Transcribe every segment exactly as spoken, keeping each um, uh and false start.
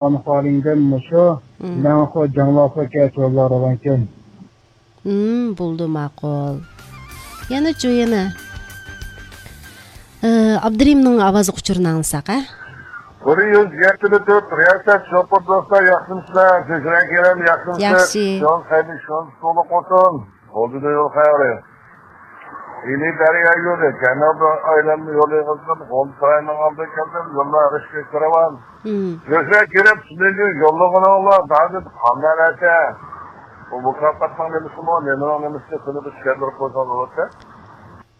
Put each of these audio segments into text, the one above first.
ئانا خالىڭدىن مۇشۇ. مم. مەڭخۇ جاڭلاخۇ كەچ يوللار راۋانكەن. مم، بولدى، ماقۇل. يەنە چۇ، يەنە. ئى، ئابدۇرېھىمنىڭ ئاۋازلىق ئۇچۇرىنى ئاڭلىساق، ھە؟ بىر يۈز يەتتە تۆت رىياسەت شوپۇر دوستلار، ياخشىمىسىلەر؟ زۆھرە كېرەم، ياخشىمسىز؟ ياخشى. يول خەيرلىك، شۇنىڭ تولۇق بولسۇن. بولدى يول خەيرى. ئىلى دەريا يولى، جەنۇبىي ئايلانما يولى قىلسۇن. غۇلجا ساراينىڭ ئالدىغا كەلدىم، يوللار ئىشقا كىرىۋال. مم. زۆھرە كېرەم، سىلەرگە يوللىغىنىڭلار ھازىر قانداق نەرسە؟ بۇ مۇكاپاتنىڭ نېمىسىمۇ، نېمىنىڭ نېمىسى، شۇنى بىر چۈشەندۈرۈپ قويساڭ بولاتتى.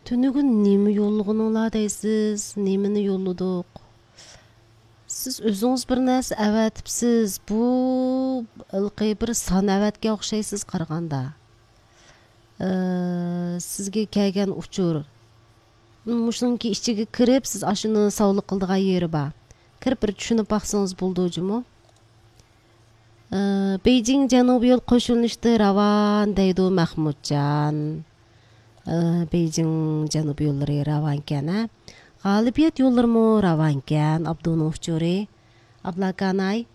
تۈنۈگۈن نېمە يوللىغىنىڭلار دەيسىز؟ نېمىنى يوللىدۇق؟ سىز ئۆزىڭىز بىر نەرسە ئەۋەتىپسىز. بۇ ھېلىقى بىر سان ئەۋەتكەن ئوخشايسىز قارىغاندا. ئى، سىزگە كەلگەن ئۇچۇر. مۇشۇنىڭكى ئىچىگە كىرىپ، سىز ئاشۇنى ساۋلىق قىلىدىغان يېرى بار. كىرىپ بىر چۈشىنىپ باقسىڭىز بولىدۇ جۇمۇ. ئى، بېيجىڭ جەنۇبىي يول قوشۇلۇشتا راۋان دەيدۇ مەخمۇتجان. ئى، بېيجىڭ جەنۇبىي يوللىرى راۋانكەن، ھە؟ غالىبىيەت يوللىرىمۇ راۋانكەن، ئابدۇنىڭ ئۇچۇرى. ئابلاكاناي.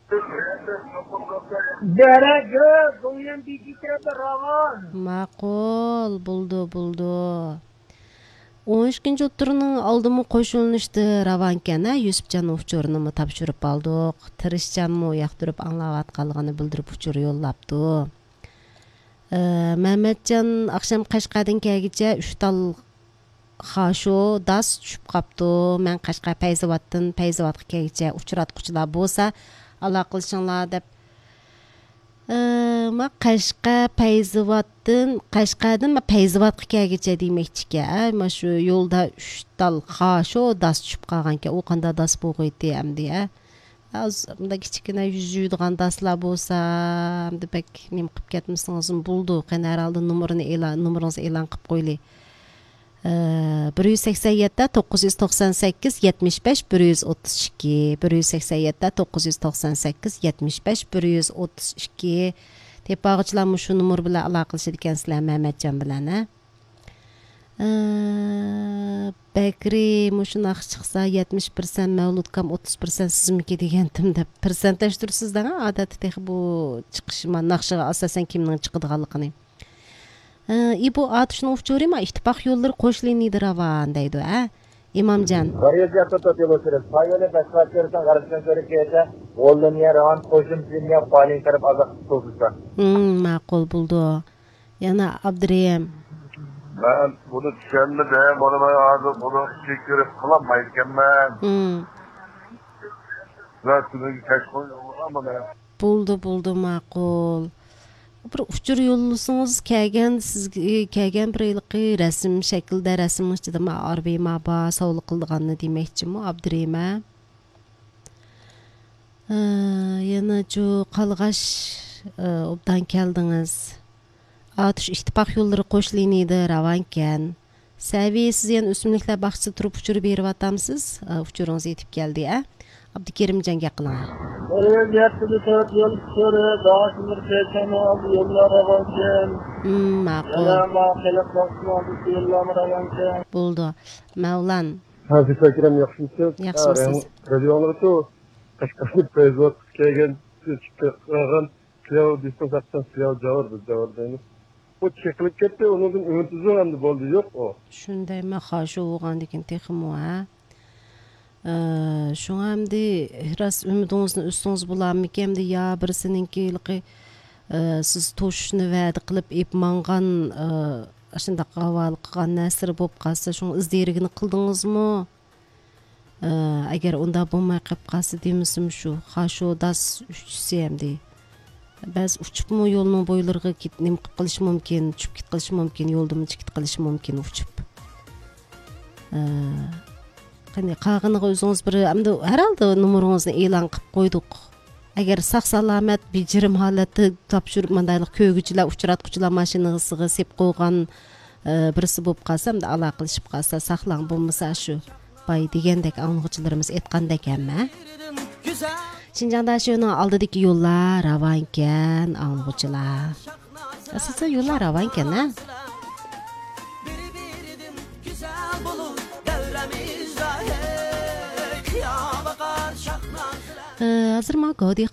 دەرەجە، دويان بېيجىڭ تەرەپتە راۋان. ماقۇل، بولدى، بولدى. ئون ئىككىنچى ئوتتۇرىنىڭ ئالدىمۇ قوشۇلۇنۇشتا راۋانكەن، ھە؟ يۈسۈپجان ئۇچۇرىنىمۇ تاپشۇرۇپ ئالدۇق. تىرىشچانمۇ ياقتۇرۇپ ئاڭلاۋاتقانلىقىنى بىلدۈرۈپ ئۇچۇر يوللاپتۇ. ئى، مەمەتجان ئاخشام قەشقەردىن كەلگىچە ئۈچ تال خاشۇ داس چۈشۈپ قاپتۇ. مەن قەشقەر پەيزاۋاتتىن پەيزاۋاتقا كەلگىچە ئۇچراتقۇچىلار بولسا ئالاقىلىشىڭلار دەپ. ئى، ما قەشقەر پەيزاۋاتتىن، قەشقەردىن ما پەيزاۋاتقا كەلگىچە دېمەكچىكەن. ئە، ما شۇ يولدا ئۈچ تال خاشۇ داس چۈشۈپ قالغانكەن. ئۇ قانداق داس بولغىيتى ئەمدى، ئە؟ ھازىر مۇنداق كىچىككىنە يۈز يۇيىدىغان داسلار بولسا، ئەمدى بەك نېمە قىلىپ كەتمىسىڭىزمۇ بولىدۇ. قېنى، ھەر ھالدا نومۇرىنى ئېلان، نومۇرىڭىزنى ئېلان قىلىپ قويلى. ئى، بىر يۈز سەكسەن يەتتە، توققۇز يۈز توقسان سەككىز، يەتمىش بەش، بىر يۈز ئوتتۇز ئىككى، بىر يۈز سەكسەن يەتتە، توققۇز يۈز توقسان سەككىز، يەتمىش بەش، بىر يۈز ئوتتۇز ئىككى. تېپىۋالغۇچىلار مۇشۇ نومۇر بىلەن ئالاقىلىشىدىكەنسىلەر مەمەتجان بىلەن، ھە؟ ئى، بەكرى مۇشۇنداق چىقسا، يەتمىش پىرسەنت مەۋلۇتكام، ئوتتۇز پىرسەنت سىزمىكى دېگەنتىم دەپ، پىرسەنتلەشتۈرىسىز دەڭ، ئادەتتە تېخى بۇ چىقىش ما-، ناخشىغا ئاساسەن كىمنىڭ چىقىدىغانلىقىنى. ئى، ئى، بۇ ئاتۇشنىڭ ئۇچۇرى ما، ئىتتىپاق يوللىرى قوش لىنىيىدە راۋان دەيدۇ، ھە؟ ئىمامجان. بىر يۈز يەتتە تۆت يول ئۆتىدۇ. سايونى بەش سائەت كۆرسەڭ، غەربىي كۆرۈپ كېلىسەن. غول لىنىيە راۋان، قوشۇم لىنىيە، بالىڭ تەرەپ ئازاق تۇتۇلسا. ھىم، ماقۇل بولدى. يەنە ئابدۇرېھىم. مەن بۇنى چۈشەنمىدىم. بۇنى مەن ھازىر بۇنى ئىچىگە كىرىپ قىلالمايدىكەنمەن. ھىم. مەن سىزگە كەچ قويۇپ يوللىغان بۇنى. بولدى، بولدى، ماقۇل. بىر ئۇچۇر يوللىسىڭىز، كەلگەن، سىزگە كەلگەن بىر ھېلىقى رەسىم شەكلىدە، رەسىمنىڭ ئىچىدە ما ئاربىما بار، ساۋغا قىلىدىغاننى دېمەكچىمۇ، ئابدۇرېھىم، ھە؟ ئى، يەنە جۇ قالغاچ، ئى، ئوبدان كەلدىڭىز. ئاتۇش ئىتتىپاق يوللىرى قوش لىنىيىدە راۋانكەن. سەۋىيە، سىز يەنە ئۆسۈملۈكلەر باغچىسىدا تۇرۇپ ئۇچۇر بېرىۋاتامسىز؟ ئى، ئۇچۇرىڭىز يېتىپ كەلدى، ئە؟ ئابدۇكېرىمجان، گەپ قىلىڭ. بىر يۈز يەتتە تۆت يول ئۇچۇرى، داشىمىر چېچەننىڭ ئالدى يوللار راۋانكەن. ھىم، ماقۇل. يەنە ما خەلق باغچىسىنىڭ ئالدىدىكى يوللارمۇ راۋانكەن. بولدى. مەۋلان. ھە، زىفا ئەكرەم، ياخشىمۇسىز؟ ياخشىمۇسىز؟ ھە، رادىيو ئاڭلىۋاتىدۇ. قەشقەردىن پەيزاۋات كەلگەن، چىقىپ قالغان، سىلەۋ دېسىڭ ساقچان، سىلەۋ جاۋۇر، بىز جاۋۇر دەيمىز. ئۇ چېقىلىپ كەتتى، ئۇنىڭدىن ئۈمىد ئۈزۈڭ ئەمدى، بولدى، يوق ئۇ. شۇندايمۇ خاشۇ بولغاندىكىن تېخىمۇ، ھە؟ ئە، شۇڭا ئەمدى راست ئۈمىدىڭىزنى ئۈزسىڭىز بولارمىكىن ئەمدى، يا بىرسىنىڭكى ھېلىقى، ئە، سىز توشۇشنى ۋەدە قىلىپ ئېلىپ ماڭغان، ئە، ئاشۇنداق ھاۋالە قىلغان نەرسىلىرى بولۇپ قالسا، شۇڭا ئىز دېرىكىنى قىلدىڭىزمۇ؟ ئە، ئەگەر ئۇنداق بولماي قېلىپ قالسا دېمىسىمۇ شۇ، خاشۇ داس ئۈچىسى ئەمدى. بەزى ئۇچۇپمۇ يولنىڭ بويلىرىغا كېت-، نېمە قىلىپ قېلىشى مۇمكىن، چۈشۈپ كېتىپ قېلىشى مۇمكىن، يولدىمۇ چىقىپ كېتىپ قېلىشى مۇمكىن ئۇچۇپ. ئە، قېنى، قالغىنىغا ئۆزىڭىز بىر، ئەمدى ھەر ھالدا نومۇرىڭىزنى ئېلان قىلىپ قويدۇق. ئەگەر ساق-سالامەت، بېجىرىم ھالەتتە تاپشۇرۇپ، مۇنداقلىق كۆرگۈچىلەر، ئۇچراتقۇچىلار ماشىنىسىغا سېلىپ قويغان، ئە، بىرسى بولۇپ قالسا، ئەمدى ئالاقىلىشىپ قالسا، ساقلاڭ، بولمىسا شۇ باي دېگەندەك، ئاڭلىغۇچىلىرىمىز ئېيتقاندەك ھەممە. شىنجاڭ داشۆنىڭ ئالدىدىكى يوللار راۋانكەن، ئاڭلىغۇچىلار. ئاساسەن يوللار راۋانكەن، ھە؟ ھازىر ماڭا گاۋدىيغا